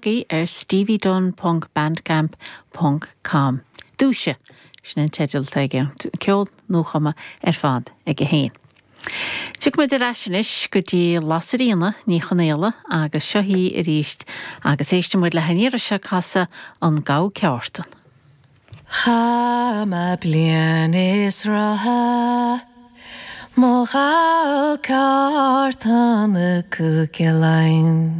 lorg í ar steviedunne ponc bandcamp ponc com. Dúise! Sin an teideal atá aige. Ceol nuachumtha ar fad aige féin. Tiocfaimid ar ais anois go dtí Lasairfhíona Ní Chonaola agus seo í arís agus éistfidh muid léi an iarraidh seo ag casadh An Gabha Ceártan. Chaith mé bliain is ráithe 'mo ghabha ceártan i gCúige Laighean.